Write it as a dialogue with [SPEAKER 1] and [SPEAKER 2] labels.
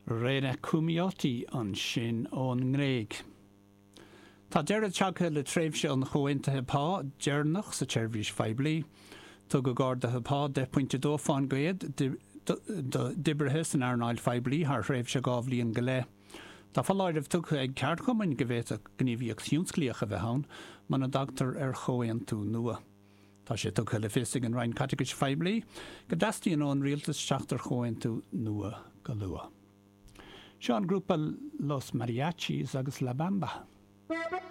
[SPEAKER 1] Rena Koumioti ansin ón nGréig. Tá deireadh tagtha le tréimhse an chomhaontaithe pá deireanach sa tseirbhís phoiblí. Tugadh arduithe pá 10.2 fán gcéad d'oibrithe san earnáil phoiblí thar thréimhse 2 bhliain go leith. Tá foláireamh tugtha ag ceardchumainn go bhféadfadh gníomhaíocht thionsclaíoch a bheith ann muna dtagtar ar chomhaontú nua. Tá sé tugtha le fios ag an Roinn Caiteachais Phoiblí go dteastaíonn ón Rialtas teacht ar chomhaontú nua go luath. Seo an grúpa Los Mariachis agus La Bamba.